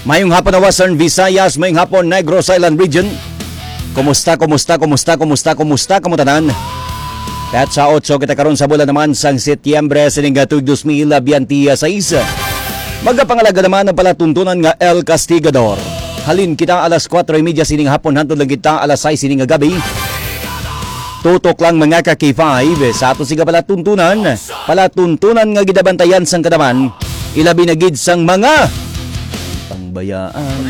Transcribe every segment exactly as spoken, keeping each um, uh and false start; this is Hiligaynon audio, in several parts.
Mayong hapon na Western Visayas, mayong hapon Negros Island Region. Kumusta, kumusta, kumusta, kumusta, kumusta kamo tanan? Petsa otso kita karon sa bulan naman sang Setyembre sining tuig dos mil biyente seis. Magapangalaga naman ang palatuntunan nga El Castigador. Halin kita alas kuwatro y media sining hapon hantod lang kita alas sais sining gabi. Tutok lang mga ka-K five sa ato siga palatuntunan, palatuntunan nga gidabantayan sang kadaman, ilabi na gid sang mga pangbayaan.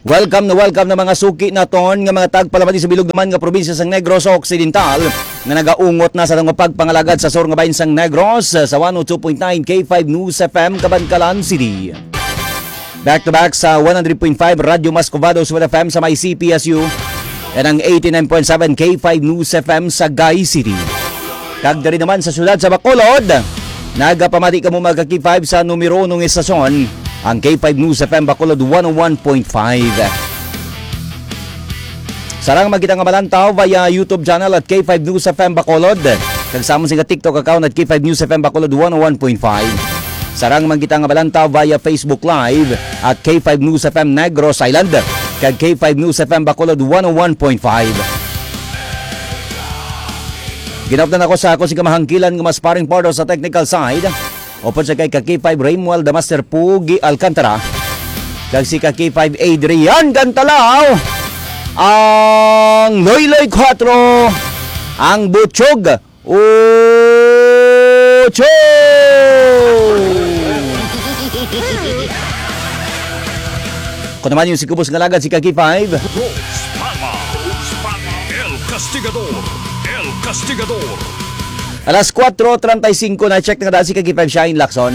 Welcome na welcome na mga suki naton nga mga tagpalamati sa bilog naman nga probinsya sang Negros Occidental nga nagaungot na sa mga pagpangalagad sa sur nga bahin sang Negros sa one oh two point nine K five News F M Kabankalan City. Back to back sa one hundred point five Radyo Mas Covado, Suwal F M sa may C P S U, and ang eighty-nine point seven K five News F M sa Gay City. Kag diri naman sa siyudad sa Bacolod, nagapamati kamo mga ka-K five sa numero uno nga estasyon, ang K five News F M Bacolod one oh one point five. Sarang man kita nga malantaw via YouTube channel at K five News F M Bacolod. Kag sa amon sing TikTok account at K five News F M Bacolod one oh one point five. Sarang man kita nga malantaw via Facebook Live at K five News F M Negros Island kag K five News F M Bacolod one oh one point five. Ginapdan ako sa ako si kamahangkilan nga mas paring partner sa technical side. Upod sa kay ka-K five Raymuel the Master Pugi Alcantara, kag si ka-K five Adrian Gantalaw, ang Loyloy Kuwatro, ang Butchog Ocho. Ako naman yung si Kubos nga lagad, si ka-K five. Rose Palma, Rose Palma, El Castigador, El Castigador. Alas kuwatro treinta y cinco na, check na daan si ka-K five Shine Lacson.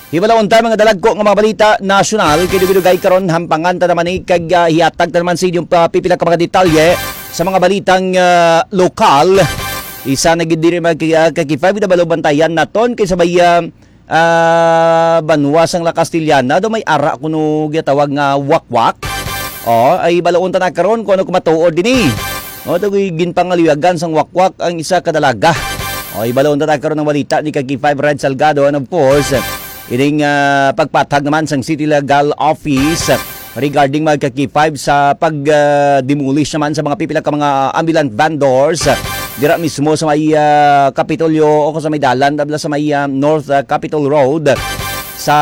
Hibalaon ta mga dalagko nga mga balita nasyonal, kay dugay-dugay karon hampangan ta naman ni kag, ah, hiatag ta naman sa inyong pa-, pipila ka mga detalye sa mga balitang, ah, lokal. Isa na gid diri mga ki-, ah, ka-K five, gid balo bantayan naton kay sabay, ah, ah, banwa sang La Castellana, do may ara kuno ginatawag nga wakwak. Oh, ay balaon ta na karon kung ano kumatuod dini. Oh, to ginpangaluyagan sang wakwak ang isa ka dalaga. Oh, ibalaon ta na karon ang balita ni ka-K five Red Salgado, and of course, ining, ah, pagpathag naman sang City Legal Office regarding mga ka-K five sa pag, ah, demolish naman sa mga pipila ka mga ambulant vendors dira mismo sa may, ah, Kapitolyo o sa may dalan, tabla sa may, ah, North, ah, Capitol Road sa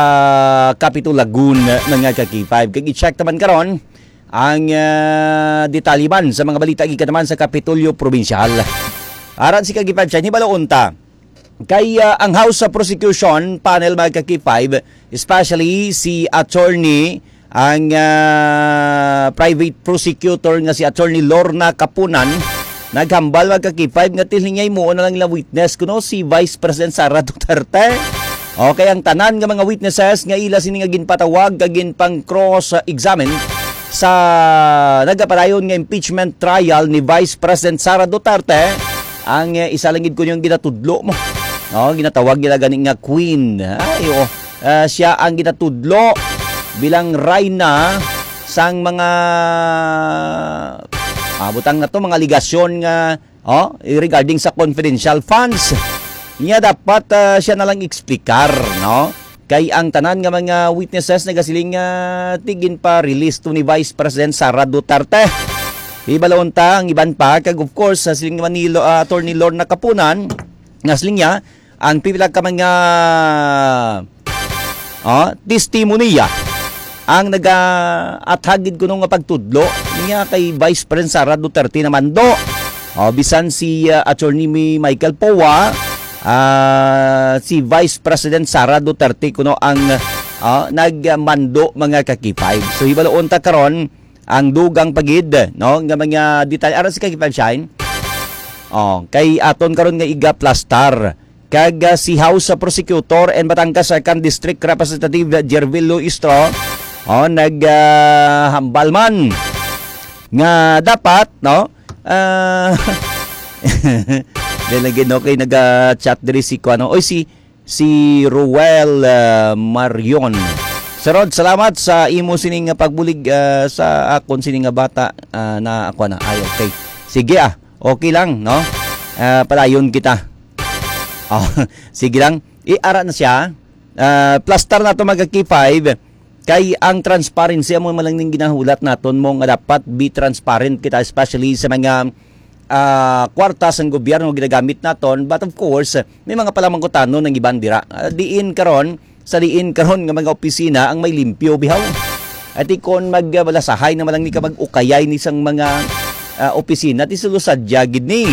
Capitol Lagoon, mga ka-K five. Kag i-check naman karon ang, ah, detalye man sa mga balita gikan naman sa Kapitolyo Probinsyal. Aran si ka-K five Shine, hibalo unta. Kay, ah, ang House sa Prosecution Panel, mga ka-K five, especially si attorney, ang, ah, private prosecutor nga si Attorney Lorna Kapunan, naghambal, mga ka-K five, nga tilingay mo na lang ilang witness kuno si Vice President Sara Duterte. Okay, ang tanan nga mga witnesses nga ila sini nga ginpatawag kag ginpang cross examine sa nagapadayon nga impeachment trial ni Vice President Sara Duterte, ang, eh, isa lang gid kuno ang ginatudlo mo. No, ginatawag nila gani nga queen. Ay, oo. Ah, siya ang ginatudlo bilang reyna sang mga, ah, butang na to, mga aligasyon nga, oh, regarding sa confidential funds. Niya dapat, ah, siya na lang explicar, no? Kay ang tanan nga mga witnesses nagasiling nga tigin pa release to ni Vice President Sara Duterte. Hibalo unta ang iban pa, kag of course, sa siling naman ni Lo-, ah, Attorney Lorna Kapunan, nga siling niya, ang pipila ka mga, ah, testimonya ang nagaathag gid kuno nga pagtudlo niya kay Vice President Sara Duterte na mando. Oh, bisan si, ah, Attorney Mi-, Michael Poa, ah, si Vice President Sara Duterte kuno ang, ah, nagmando, mga ka-K five. So, hibaloon ta karon ang dugang pa gid, no, nga mga detalye. Ara si ka-K five Shine. Oh, kay aton karon nga iga-plastar. Kag, ah, si House Prosecutor and Batangas Second District Representative Jervil Luistro, oh, nag, ah, hambal man nga dapat, no? Ah, dahil lagi, no, kay naga-chat diri si kuano, oy, si, si Ruel, ah, Marion. Sir Rod, salamat sa imo sining pagbulig, ah, sa akon sining nga bata, ah, na ako na. Ay, okay. Sige, ah. Okay lang, no? Ah, padayon kita. Oh, sige lang. Iara na siya. Ah, plastar nato, mga K five. Kay ang transparency amo man lang ning ginahulat naton mo nga dapat be transparent kita, especially sa mga, ah, kwarta sang gobyerno nga ginagamit naton. But of course, may mga palamangkutanon ang iban dira. Ah, diin karon, sa diin karon nga mga opisina ang may limpyo, bihaw. Ati kon mag, ah, balasahay naman lang ni ka mag-ukayay ni sang mga, ah, opisina, ti sulo sadya gid ni.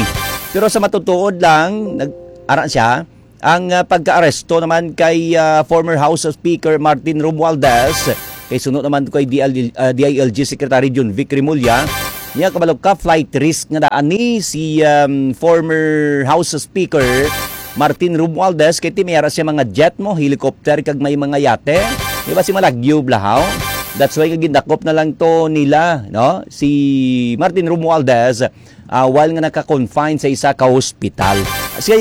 Pero sa matutuod lang, nag-, ara siya, ang, ah, pagkaaresto naman kay, ah, former House Speaker Martin Romualdez, kay suno naman kay D L, ah, D I L G Secretary Jun Vic Remulla, niya kabalo ka, flight risk nga daan ni si, um, former House Speaker Martin Romualdez, kay ti may ara siya mga jet mo, helicopter, kag may mga yate. Di ba si Malagyo, Blahaw? That's why gindakop na lang to nila, no? Si Martin Romualdez, ah, while nga naka-confine sa isa ka hospital. Kasi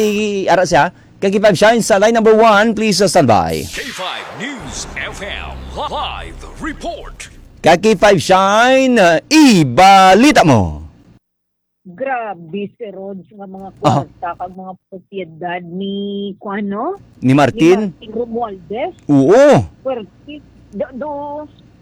ara siya, Kaki Five Shine sa line number one, please, uh, stand by. K five News F M live report. Kaki Five Shine, uh, ibalita mo. Grabe, Sir Rog, nga mga Aha. kwarta kag mga propiedad ni, kuwan, no? Ni Ni Martin? Martin Romualdez. Oo. Pwerte. Do, do,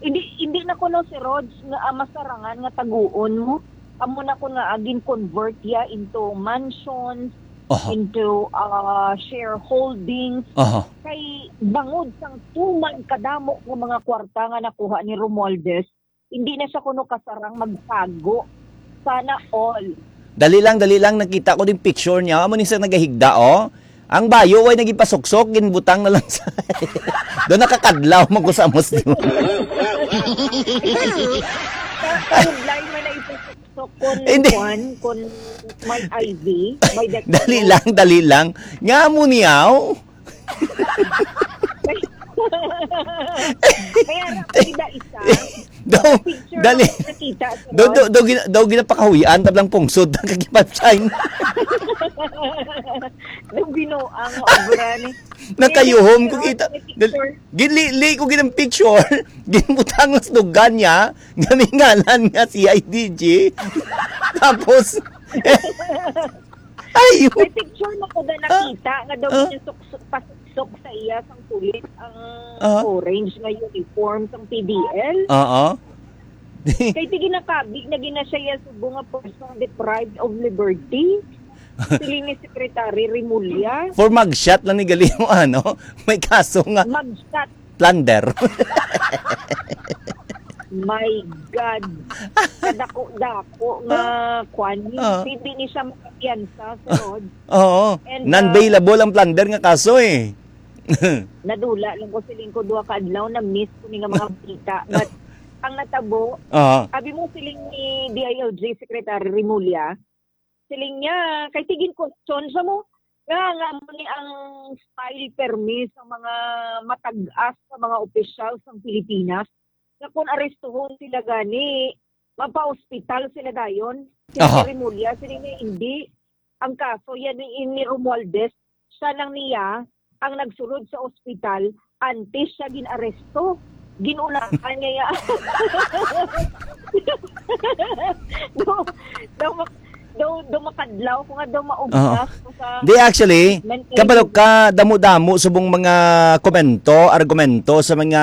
hindi, hindi na kuno, Sir Rog, nga, ah, masarangan nga taguon mo. Amo na ko nga, ah, gin-convert ya into mansions, Aha. into, ah, shareholdings. Aha. Kay bangod sang tuman kadamo nga mga kwarta nga nakuha ni Romualdez, hindi na siya kuno kasarang magtago. Sana all. Dali lang, dali lang. Nakita ko din picture niya. Amo ni sa nagahigda, oh. Ang bayo, way nagipasuksok, ginbutang na lang sa... Doon nakakadlaw, magkusamos di mo. Sa, sa headline man na ipasuksok kon Hindi. kuwan, kon may I V, may death Dali note. lang, dali lang. Nga mo niyaw? Kaya ra ko gida isa. Daw, Picture dali. Ako nakita, Daw, daw, Ron. daw, gina-, daw ginapakahuyan, tablang pungsod, ang kagipatsain. Daw binuang obra ni. Nakayuhom ko Pero kita. May picture. Ginlili ko ginang picture. Ginbutang sa dugan niya. Gamingalan nga si I D G. Tapos, Ay, May picture na ko na Ah, nakita nga daw ah. ginasukso-, pasuksok sa iya sang pulis ang Ah. orange nga uniform sang P D L. Oo. Kay ti ginakabig na gina siya iya subo nga person deprived of liberty. Siling ni Secretary Remulla. For mugshot lang ni gali mo, ano? May kaso nga Mugshot. plunder. My God. Kadako-dako nga kwan. Ah. Hindi ni siya makapiyansa, Sir Rod. Oo. And, uh, Non-bailable ang plunder nga kaso eh. Nadula lang ko siling ko duha ka adlaw, na-miss ko ni nga mga balita. But ang natabo, Oo. abi mo siling ni D I L G Secretary Remulla, siling niya, kay ti gin-question sa mo, nga, nga amo ni ang style permi sa mga matag-as sa mga opisyal sa Pilipinas, nga kung arestuhon sila gani, mapa-ospital sila dayon. Si Aha. Remulla, siling niya, hindi. Ang kaso, yan ni, ni Romualdez, siya lang niya ang nagsulod sa ospital antes siya gin-aresto. Ginunahan niya ya. Daw, daw, mak-, daw, daw makadlaw ko nga daw maubos Oo. ko sa Di, actually, treatment kay kabalo ka, damo-damo subong mga komento, argumento sa mga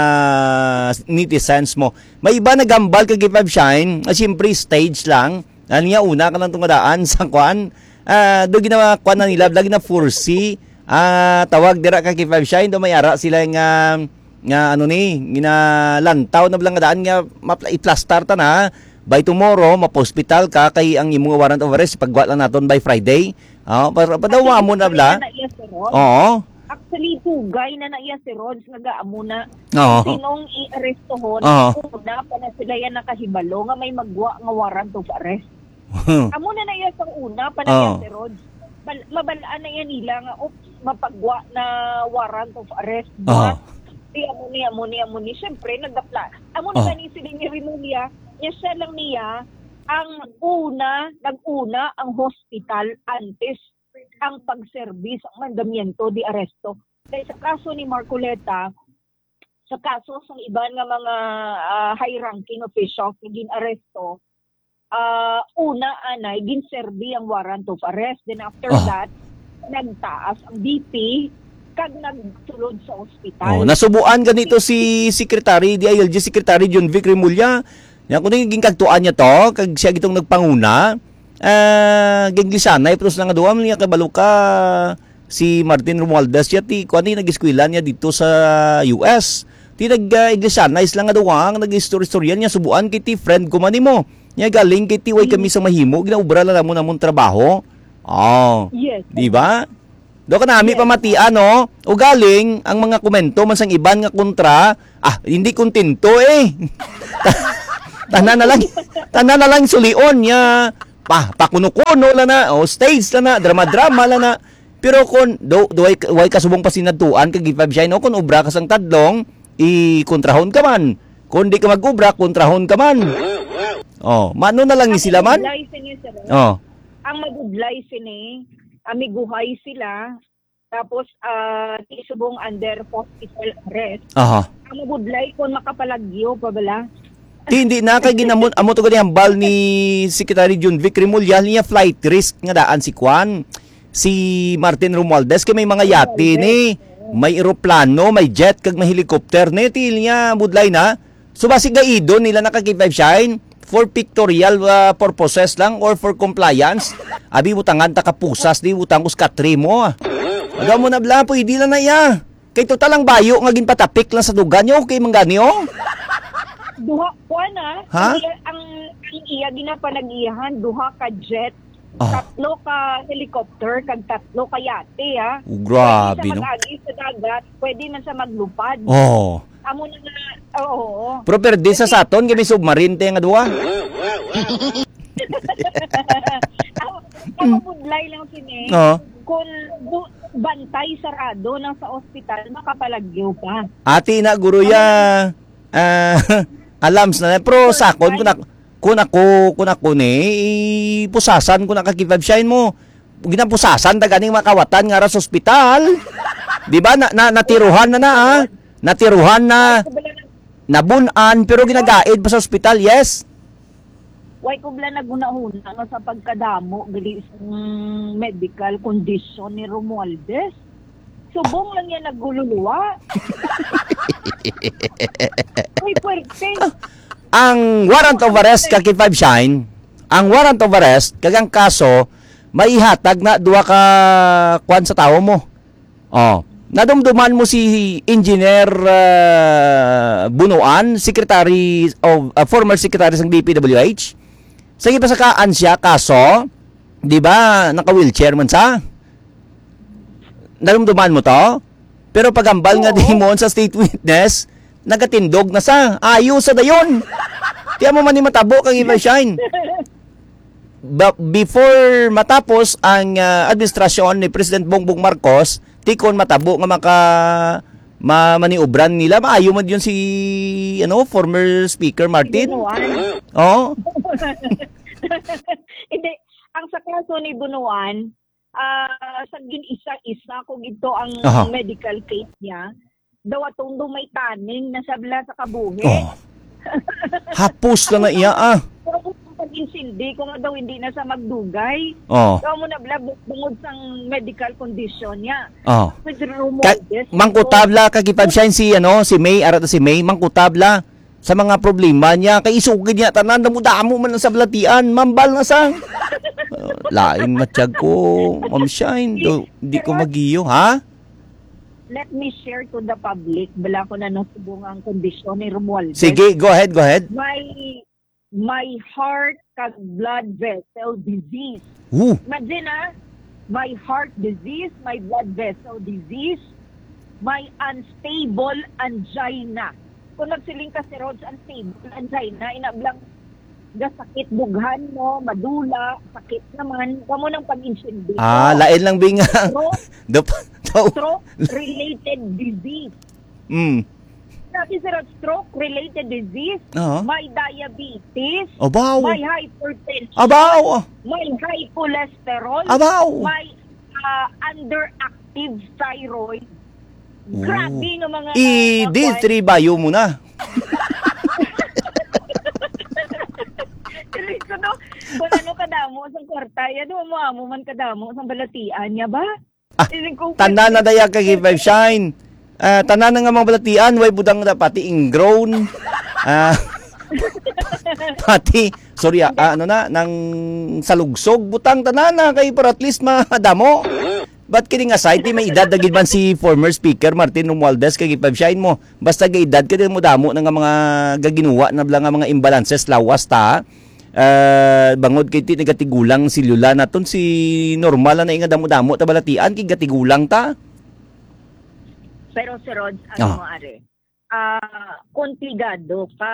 netizens mo. May iba nagambal kay Five Shine, ah, siyempre stage lang. Ano nga, una ka lang tungadaan sa kwan. Ah, do ginawa kwan na nila, lagi na foresee. Ah, tawag dira ka kay Five Shine, do may ara sila nga, nga ano ni, ginalantaw na lang daan nga mapla-, iplastar ta na. By tomorrow, mapospital ka kay ang imong warrant of arrest, pagwa lang naton by Friday. Oh, para padawa mo na bla. Actually, tugay na na iya, Sir Rod. Oo. Actually, tugay na na iya, Sir Rod, nga gaamo na. Oo. Sinong i-arestohon, Oo. una pa na sila yan nakahibalo nga may magwa nga warrant of arrest. Amo na na iya sa una pa na Oo. yan, Sir Rod. Bal-, mabalaan na yan nila nga, oops, mapagwa na warrant of arrest. Oo. But, di amo ni, amo ni, amo ni. Siyempre, nagapla-, amo na Oo. gani sila ni Remulla, niya siya lang niya, ang una, nag-una ang hospital antes ang pagserbi sa mandamiento de arresto. Kay sa kaso ni Marcoleta, sa kaso sa iban nga mga, ah, high-ranking officials nga gin-aresto, ah, una anay ginserbi ang warrant of arrest. Then after Ah. that, nagtaas ang B P, kag nagsulod sa ospital. Oh, nasubuan ganito si Secretary, D I L G Secretary John Vic Remulla. Nya, kung naging kagtuan niya to, kag siya gitong nagpanguna, ah, giglisyanay, pero sila nga duha, niya kabalo ka, si Martin Romualdez, siya ti, kuwan, ni, nag-eskwela niya dito sa U S. Ti nag, ah, iglisyanay sila nga duha, ang nag-istorya-istorya niya, subuan kay ti friend ko man nimo. Niya galing kay ti way kami sa mahimo, ginaubra lang namon among trabaho. Oh. Yes. Di ba? Do ka nami Yes. pamatian, no? O galing, ang mga komento man sang iban nga kontra, ah, hindi kontento eh. Tanan na lang, tanan na lang sulion niya. Pa, pakuno-kuno lang na, o stage lang na, drama-drama lang na. Pero kung do, do way, way kasubong pasinadtuan kag ipabsyahin, o kung obra ka sang tadlong, ikontrahon ka man. Kung di ka mag-obra, kontrahon ka man. Oh, mano na lang ni sila man? Ang mabudlay sini, sir. Oh. Ang mabudlay sini, amiguhay sila, tapos, ah, ti subong under hospital arrest. Aha. Ang mabudlay kung makapalagyo pa bala. Ti, hindi na kay ginamon, amo to gani hambal ni Secretary John Vic Remulla, niya flight risk nga daan si Kwan, si Martin Romualdez, kay may mga yate ni, may eroplano, may jet, kag may helicopter ni, ti niya budlay na. So, basi gaidon nila na kag five shine for pictorial, ah, purposes lang or for compliance. Abi, butangan ta ka pusas, di butang ko sa katri mo, ah. Aga mo na bla, pwede lang na iya. Kay total ang bayo nga ginpatapik lang sa dugan niyo, okay man gani, oh. Duha, kuwan, ah. Ha? Ang iya, ang, ang iya ginapanag-iyahan, duha ka jet, Ah. tatlo ka helicopter, kag tatlo ka yate, ah. Oh, grabe, Pwede siya no? mag-agi sa dagat, pwede man siya maglupad. Oh. Amo na nga, oo. Pero perde sa Kasi saton, kami submarine te nga duwa. Ang, ang mabudlay lang sini, Oo. kung bu-, bantay sarado na sa ospital, makapalagyo pa. Ati na, guro ya. Ah, alams na. Pero sakon, kung ako, kung ako, kung ako ni, ipusasan ko na kag five shine mo. Ginapusasan ta ganing makawatan nga ra sa ospital. Di ba? Na, na, natiruhan na na, ah. Natiruhan na. Nabun-an, pero ginagaid pa sa ospital, yes. Way ko bala naghunahuna nga sa pagkadamo gali sang medical condition ni Romualdez. Subong lang yan nagululuwa. Uy, puwerte. Ang warrant of arrest ka kay Five Shine, ang warrant of arrest, kag ang kaso, maihatag na duha ka kwan sa tawo mo. Oh, nadumduman mo si Engineer, ah, Bunuan, Secretary of, ah, former Secretary sang D P W H? Sa gipasakaan siya kaso, di ba, naka-wheelchair man sa? Nadumduman mo to? Pero pagambal nga Oo. di mo sa state witness, nagatindog na sa. Ayo sa dayon. Tiyan mo man ni matabo kang Ivan Shine. Ba-, before matapos ang, ah, administrasyon ni President Bongbong Marcos, tikon matabo nga maka-, ma-, maniobran nila, maayo man yun si, ano, former Speaker Martin. Bunuan. Oo. Hindi, ang sa kaso ni Bunuan, ah, sa gin-isa-isa ko gito ang Aha. medical case niya. Daw atong do may tanning na sabla sa kabuhi. Oh. Hapos na na iya, ah. Pero kung pag-insindi ko nga daw hindi na sa magdugay. Oh. Daw mo na bla bu-, bungod sang medical condition niya. Oh. With Ka-, Romualdez, mangkutabla, kag ipabsyahin si, ano, si May, ara to si May, mangkutabla sa mga problema niya. Kay isugid niya, tanan, damo-damo man ang sablatian. Mambal na sa, uh, lain matyag ko, Ma'am Shine. Do, di ko magiyo, ha? Let me share to the public. Bala ko na nasubong ang kondisyon ni Romualdez. Sige, go ahead, go ahead. My, my heart kag blood vessel disease. Ooh. Imagine, ah, my heart disease, my blood vessel disease, my unstable angina. Kung nagsiling ka, Sir Rog, unstable angina, ina blang gasakit dughan mo, madula, sakit naman, kamo nang pag-insindi. Ah, lain lang, Bing. Stroke, Dap-, daw. Stroke-related disease. Mm. Sabi, Sir Rog, stroke-related disease, Oo. may diabetes, Abaw. may hypertension, Abaw. may high cholesterol, Abaw. may, ah, underactive thyroid. Oh. Grabe nga mga, I mga D three kwan. Bayo mo na. Dili ko, no? Kung ano kadamo sa kwarta, yan, mo, mo man kadamo sa balatian niya ba? Ah, Siling ko, tanan na daya ka K five Shine. Ah, tanan na nga mga balatian, way butang na pati ingrown. Ah, pati, sorry, ah, ah, ano na, nang salugsog, butang tanan na kay para at least madamo. But kidding aside, di may edad na gid man si former speaker Martin Romualdez kay K five Shine mo. Basta kay edad ka din mo damo na nga mga gaginuwa na bala nga mga imbalances lawas ta. Ah, bangod kay ti nagatigulang si Lola naton si normal na nga damo-damo ta balatian kay gatigulang ta. Pero si Rod, ano Ah. mo are? Ah, komplikado ka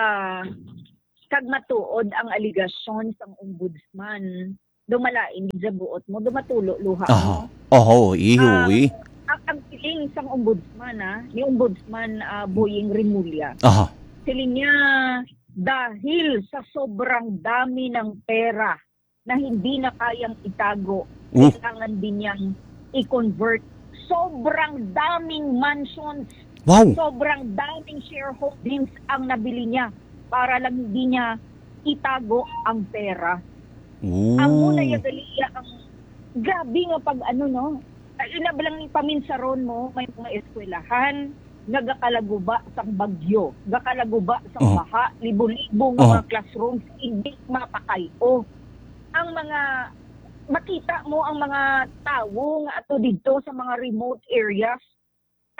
kag matuod ang alegasyon sang ombudsman. Dumalain gid sa buot mo, dumatulo luha Aha. mo. Oho, Ah, ihoy. ang, ang siling sang ombudsman, ah, ni Ombudsman, ah, Boying Remulla. Aha. Siling niya, dahil sa sobrang dami ng pera na hindi na kayang itago, Uh. kailangan din niyang i-convert. Sobrang daming mansions, Wow. sobrang daming shareholdings ang nabili niya para lang hindi niya itago ang pera. Ooh. Ang una ya gali ya ang grabe nga pag ano, no? Ay, ina ba lang ni paminsaron mo, may mga eskwelahan nga gakalaguba sang bagyo, gakalaguba sang Oh. baha, libo-libo nga Oh. mga classrooms hindi mapakay-o. Ang mga, makita mo ang mga tawo nga ato didto sa mga remote areas,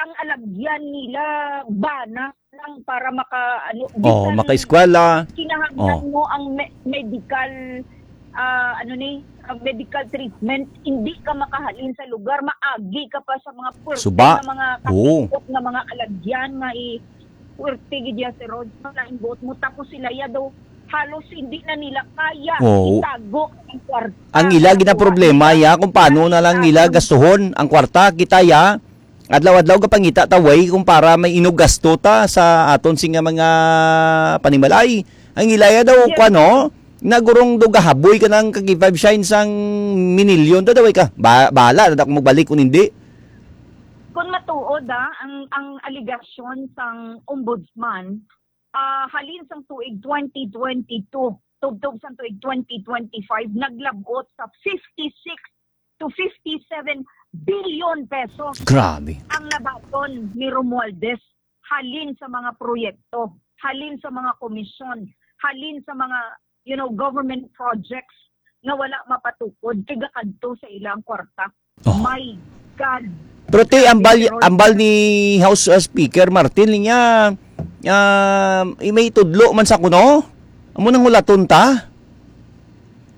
ang alagyan nila bana lang para maka, ano, Oh, bisan makaeskwela. kinahanglan Oh. mo ang me-, medical, ah, ano ni, ah, medical treatment, hindi ka makahalin sa lugar, maagi ka pa sa mga puwerte Suba. nga mga Oo. kakipot nga mga alagyan nga i-, puwerte gid ya si Rod, malain buot mo, tapos sila ya daw, halos hindi na nila kaya Oo. itago ang kwarta. Ang ila gid ang problema, ya, kung paano na lang nila gastuhon ang kwarta. Kita, ya, adlaw-adlaw gapangita ta way kung para may inog gasto ta sa aton sing nga mga panimalay. Ang ila ya daw, Yes. kuwan, no? Nagurong daw gahaboy ka ng kag five shine sang minilyon. Dadaway ka. Ba-, bahala na ako magbalik kung hindi. Kung matuod, ah, ang, ang alegasyon sang ombudsman, ah, halin sang tuig twenty twenty-two, tubtob sang tuig twenty twenty-five, naglabot sa fifty-six to fifty-seven billion pesos Grabe. ang nabaton ni Romualdez halin sa mga proyekto, halin sa mga komisyon, halin sa mga, you know, government projects nga wala mapatukod kay gakadto sa ilang kwarta. Oh. My God. Pero ti, ambal, Pero ambal ni House, uh, Speaker Martin, niya, um, i-, may tudlo man sa kuno? Amo nang hulaton ta?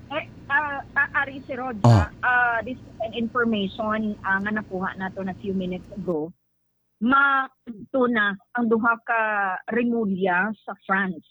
Eh, ah, ah, Ari, si Rod, Oh. ah, ah, this is an information, ah, nga nakuha nato na few minutes ago. Makadto na ang duha ka Remulla sa France.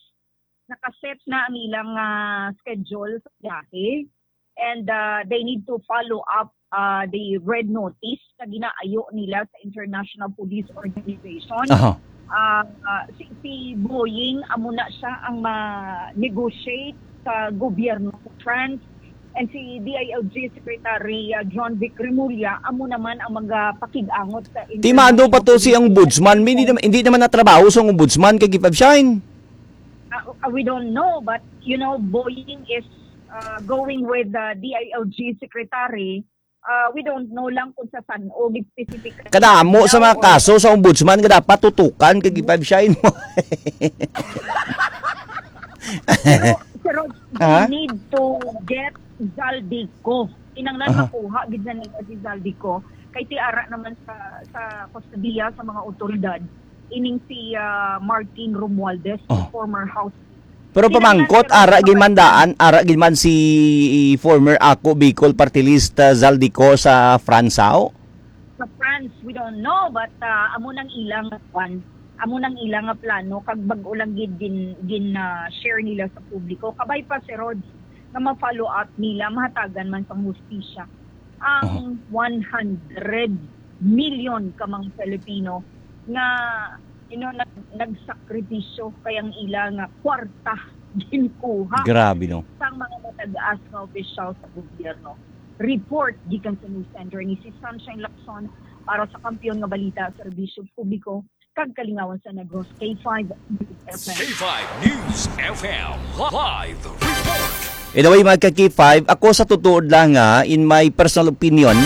Nakaset na ang ilang, ah, schedule sa biyahe. And, ah, they need to follow up, ah, the red notice na ginaayo nila sa International Police Organization. Aha. Ah, ah, si, si Boeing, amo na siya ang ma-negotiate sa gobyerno sa France. And si D I L G Secretary, ah, John Vic Remulla, amo naman ang magapakig-angot sa Ti maano pa to si international ombudsman? May hindi community. Naman, hindi naman natrabaho sa ombudsman kay Gipab Shine. Uh, uh, we don't know, but, you know, Boeing is, uh, going with the D I L G secretary. Uh, we don't know lang kung sa san-o, specific. Kadamo sa mga kaso sa ombudsman nga dapat tutukan kay Gipab Shine mo. Pero, pero Ha? They need to get Zaldy Co. Kinahanglan Aha. makuha gid na nila si Zaldy Co. Kay ti ara naman sa, sa kustodiya sa mga otoridad, ining si, ah, Martin Romualdez, Oh. former House. Pero Kinahanglan pamangkot, siya ara gid man magpapatid. Daan, ara gid man si former Ako Bicol Party List, ah, Zaldy Co sa France, aw? Sa France, we don't know, but, ah, amo nang ilang kwan, amo nang ilang nga plano, kag bag-o lang gid gin, gin, ah, share nila sa publiko. Kabay pa si Rod nga ma-follow up nila, mahatagan man sang hustisya ang Oh. one hundred million ka mga Filipino nga, you know, nag-, nagsakripisyo kay ang ila nga kwarta ginkuha Grabe, no? sang mga matag-as nga opisyal sa gobyerno. Report gikan sa News Center ni si Sunshine Lacson para sa Kampiyon nga Balita, Serbisyo Publiko, kag Kalingawan sa Negros, K five News F M. K five News F M live report. Anyway, mga ka-K five, ako sa tutuod lang, ha, in my personal opinion,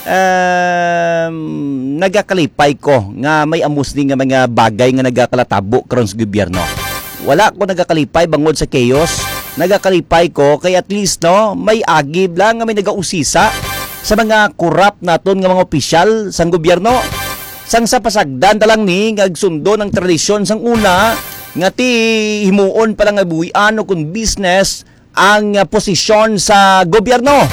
Um, nagakalipay ko nga may amo sini nga mga bagay nga nagakalatabo karon sa gobyerno. Wala ko nagakalipay bangod sa chaos. Nagakalipay ko kay at least, no, may agi lang nga may nagausisa sa mga korap naton nga mga opisyal sang gobyerno. Sang sa pasagdan ta lang ni nga agsundo ang tradisyon sang una nga ti himuon pa lang nga buhian o kung business ang, ah, posisyon sa gobyerno.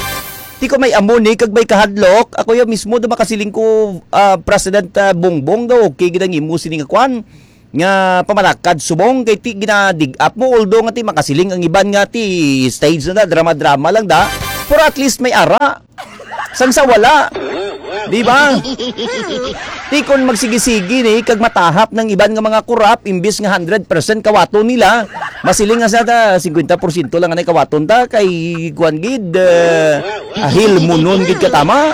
Ti ko may amo ni kag may kahadlok, ako ya mismo do makasiling ko, ah, President, ah, Bongbong, daw okay gid ang imo sini nga kwan nga pamalakad subong kay ti ginadig-up mo, although nga ti makasiling ang iban nga ti stage na da, drama-drama lang da, pero at least may ara. Sang sa wala. Di ba? Ti kon magsigi-sigi ni kag matahap ng iban nga mga korap, imbis nga hundred percent kawaton nila, masiling nga sa ta, fifty percent lang anay kawaton ta kay kuan gid, eh, ahil munon gid katama.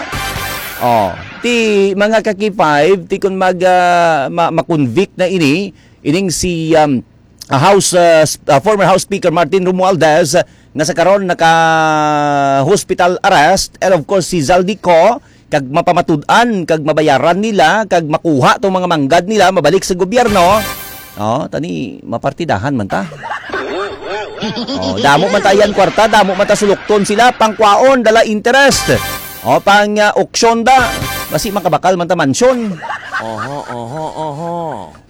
Oh, ti mga ka-K five, ti kon mag, ah, ma- ma-convict na ini, ining si, um, ah, House, ah, s- ah, former House Speaker Martin Romualdez, ah, nga sa karon naka hospital arrest, and of course si Zaldy Co, kag mapamatud-an kag mabayaran nila kag makuha tong mga manggad nila mabalik sa gobyerno. Oh, tani mapartidahan man ta. Oh, damo man ta yan kwarta, damo man ta sulukton sila, pangkwaon, dala interest. O pang, ah, auction da, basi makabakal man ta mansyon. Oho, oho, oho.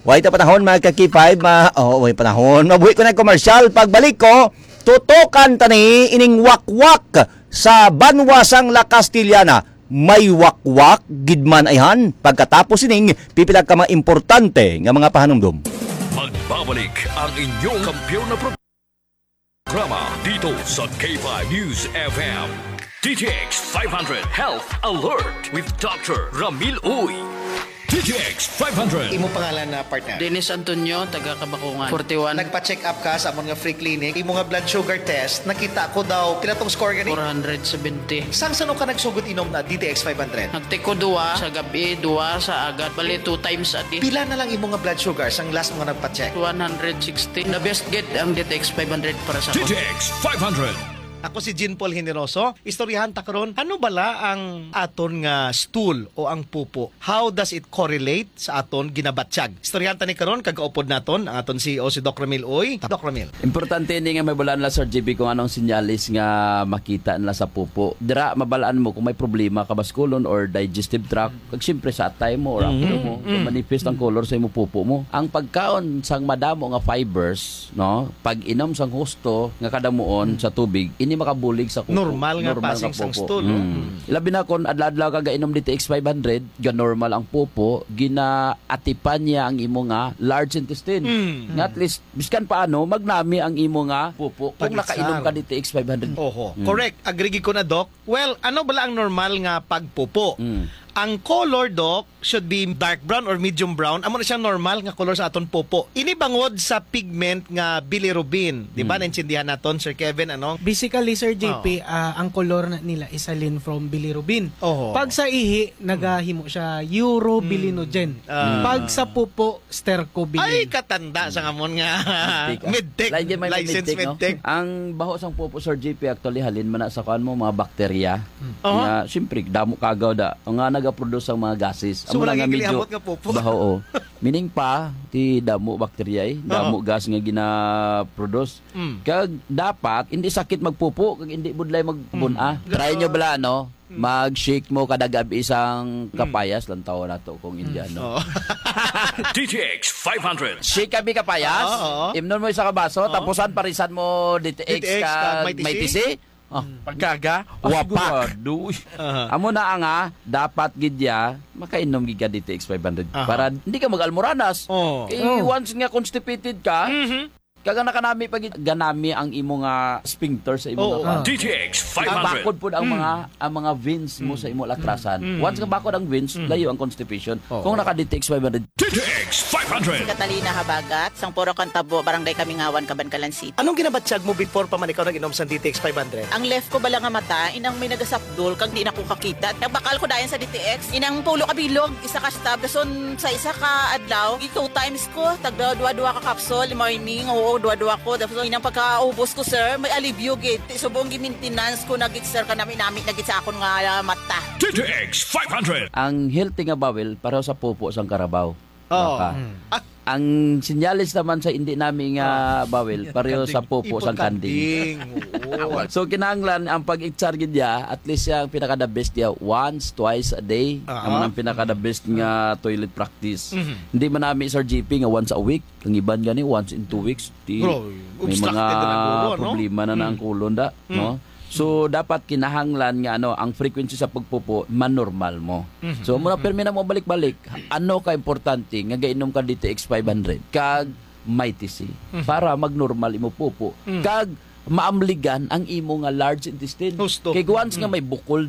Way ta panahon, mga ka-K five, ma-, oh, way panahon. Mabuhi ko na komersyal. Pagbalik ko, tutukan ta ni ining wakwak sa banwa sang La Castellana. May wakwak gid man ayhan. Pagkatapos ining, pipila ka mga importante nga mga pahanumdom. Magbabalik ang inyong kampiyon na pro- programa dito sa K five News F M. D T X five hundred Health Alert with Doctor Ramil Uy. D T X five hundred. Imo pangalan na partner? Dennis Antonio, taga Kabakungan, forty-one. Nagpa-check up ka sa amon nga free clinic. Imo nga blood sugar test, nakita ko daw, pila tong score gani? Four hundred seventy. Sang sano ka nagsugod inom na D T X five hundred? Nagtiko duwa sa gabi, duwa sa agad. Bali, two times a day. Pila na lang imo nga blood sugar sang last mo nga nagpa-check? One hundred sixty. The best gid ang D T X five hundred para sa D T X five hundred. Ako si Jean Paul Generoso. Istoryahan ta karon, ano bala ang aton nga stool o ang pupo? How does it correlate sa aton ginabatyag? Istoryahan ta ni karon kag kaupod naton ang aton C E O, si Doc Ramil Uy. Doc Ramil. Importante ni nga mabalaan la, Sir J B, kung anong sinyalis nga makita nila sa pupo. Dira mabalaan mo kung may problema ka baskulon or digestive tract. Kag siyempre sa atay mo or aplo mo, mm, manifest ang color sa imo pupo mo. Ang pagkaon sang madamo nga fibers, no? Pag-inom sang husto nga kadamuon sa tubig, ini makabulig sa kuko. Normal nga passing sang stool, no? Mm. Labi na kung adlaw-adlaw ka gainom D T X five hundred, ga normal ang pupo, ginaatipan niya ang imo nga large intestine. Mm. Nga at least, biskan paano, magnami ang imo nga pupo kung nakainom ka D T X five hundred. Oho. Mm. Correct. Agree gid ko na, Doc. Well, ano bala ang normal nga pagpupo? Mm. Ang color, Doc, should be dark brown or medium brown. Amo na siyang normal nga color sa aton pupo. Ini bangod sa pigment nga bilirubin. Di ba, mm, naintindihan naton, Sir Kevin, ano? Basically, Sir J P, ah, ang color na nila isalin from bilirubin. Oho. Pag sa ihi, nagahimo siya urobilinogen. Ah. Pag sa pupo, stercobilin. Ay, katanda sa amon nga medtech. Medtech. Lain gyud may medtech, no? Medtech. Ang baho sang pupo, Sir J P, actually, halin man na sa kuan mo, mga bakterya. Hmm. Oho. Nga, siyempre, damo kagaw da. Nga nagaproduce ang mga gases. So, amo na wala nga medyo gilihabot nga pupo. Baho, oh. Meaning pa, ti damo bakterya, eh. Oho. Damo gas nga ginaproduce. Mm. Kag dapat, hindi sakit magpupo, kag hindi budlay magbun-a. Mm. Try nyo bala, no? Mm. Mag-shake mo kada gabi isang kapayas, lantaw nato kung Indiano. Oo. D T X five hundred. Shake kami kapayas, oo, oo, imnon mo isa ka baso, oo, tapusan parisan mo D T X, D T X kag may tisi. May tisi. Oh. Mm. Pagkaga? Ah, wapak. Sigurado. Uy. Aha. Amo na ang, ah, dapat gid ya, makainom gid ka D T X five hundred. Aha. Para hindi ka mag-almoranas. Oh. Kay, oh, once nga constipated ka, mhm, kag nakanami pa gid, ganami ang imo nga sphincter sa imo, oo, nga, ah, D T X five hundred. Bakod pud ang, mm, mga, ang mga veins mo, mm, sa imo lakrasan. Mm. Once nga bakod ang veins, mm, layo ang constipation. Oo. Kung naka D T X five hundred. D T X five hundred. Si Catalina Habagat, sang Puro Kantabo, Barangay Kamingawan, Kabankalan City. Anong ginabatyag mo before pa man ikaw nag-inom sa D T X five hundred? Ang left ko bala nga mata, inang may nagasapdol, kag di na ko kakita. Nagbakal ko dayon sa D T X. Inang pulo ka bilog, isa ka stab. Dason sa isa ka adlaw, two times ko, tagda duha-duha ka capsule, morning, oo, Dua-dua ko, tapos inang pagkaubos ko, sir, may alibyo gid. Ti subong gi-maintenance ko na gid, sir, kanami-nami na gid sa akon nga, ah, mata. D T X five hundred. Ang healthy nga bawel pareho sa pupo sang karabaw. Oh. Baka. Ah, Ang sinyalis naman sa hindi nami nga bawel pareho sa pupo sang kanding. Oo. So kinahanglan ang pag-itchar gid niya, at least siya ang pinaka the best niya once, twice a day. Ah. Ang ang pinaka the best nga toilet practice. Mhm. Hindi man nami, Sir G P, nga once a week, ang iban gani once in two weeks. Di, Bro, may obstructed mga na lang guro, no? problema na ng Mm. kulon da, Mm. no? So dapat kinahanglan nga ano, ang frequency sa pagpupo manormal mo. Mhm. So mura permi na mo balik-balik. Ano ka importante nga gainom ka D T X five hundred kag Mighty C Mhm. para magnormal imo pupo Mm. kag maamligan ang imo nga large intestine. Husto. Kay once nga Mm. may bukol